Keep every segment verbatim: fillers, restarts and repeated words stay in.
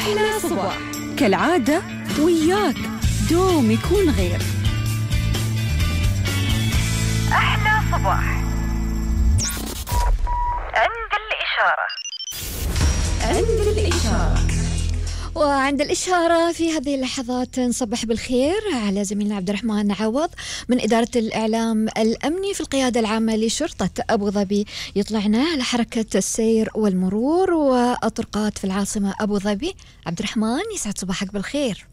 أحلى صباح كالعادة وياك دوم يكون غير. أحلى صباح عند الإشارة. عند الإشارة. وعند الإشارة في هذه اللحظات نصبح بالخير على زميلنا عبد الرحمن عوض من إدارة الإعلام الأمني في القيادة العامة لشرطة أبو ظبي، يطلعنا على حركة السير والمرور والطرقات في العاصمة أبو ظبي. عبد الرحمن يسعد صباحك بالخير.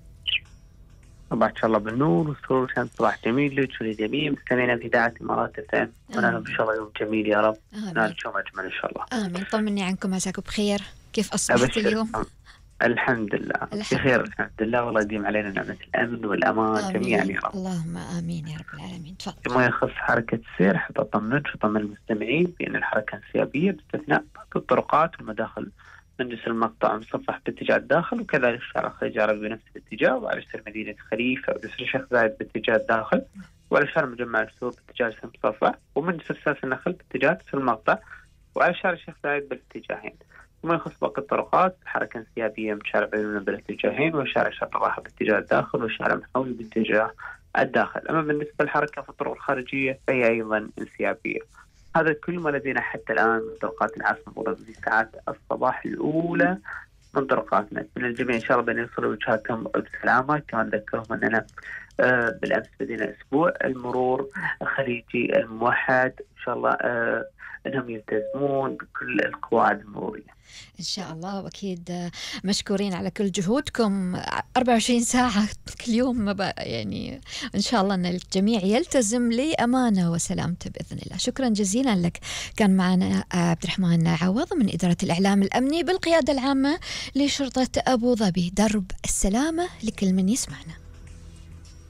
صباح إن شاء الله بالنور والسرور، كان صباح جميل لك ولجميع مستمعينا في إذاعة الإمارات الثانية، ونحن إن شاء الله يوم جميل يا رب. نال يوم أجمل إن شاء الله. آمين. طمني عنكم، عساكم بخير؟ كيف أصبحت اليوم؟ الحمد لله بخير الحمد لله، والله يديم علينا نعمة الأمن والأمان جميعا يا رب. اللهم آمين يا رب العالمين. تفضل. فيما يخص حركة السير حتى أطمنك وأطمن المستمعين بأن الحركة انسيابية باستثناء الطرقات والمداخل من جسر المقطع مصفح باتجاه الداخل، وكذلك شارع خليج عربي بنفس الاتجاه، وعلى جسر مدينة خليفة وجسر الشيخ زايد باتجاه الداخل، وعلى شارع مجمع السور باتجاه جسر مصفح، ومن جسر ساس النخل باتجاه جسر المقطع، وعلى شارع الشيخ زايد بالاتجاهين. وما يخص باقي الطرقات الحركة انسيابية من شارع بينونة بالاتجاهين، وشارع شرق الراحة باتجاه الداخل، وشارع محاوي باتجاه الداخل. أما بالنسبة للحركة في الطرق الخارجية فهي أيضا انسيابية. هذا كل ما لدينا حتى الآن من طرقات العاصمة أبو ظبي في ساعات الصباح الأولى من طرقاتنا. من الجميع إن شاء الله بأن يوصلوا وجهاتهم بسلامة. كمان ذكرهم أننا آه بالأمس بدينا أسبوع المرور الخليجي الموحد، إن شاء الله آه أنهم يلتزمون بكل القواعد المرورية إن شاء الله. وأكيد مشكورين على كل جهودكم أربعة وعشرين ساعة كل يوم، يعني إن شاء الله أن الجميع يلتزم لأمانة وسلامته بإذن الله. شكرا جزيلا لك. كان معنا عبد الرحمن عوض من إدارة الإعلام الأمني بالقيادة العامة لشرطة أبو ظبي، درب السلامة لكل من يسمعنا.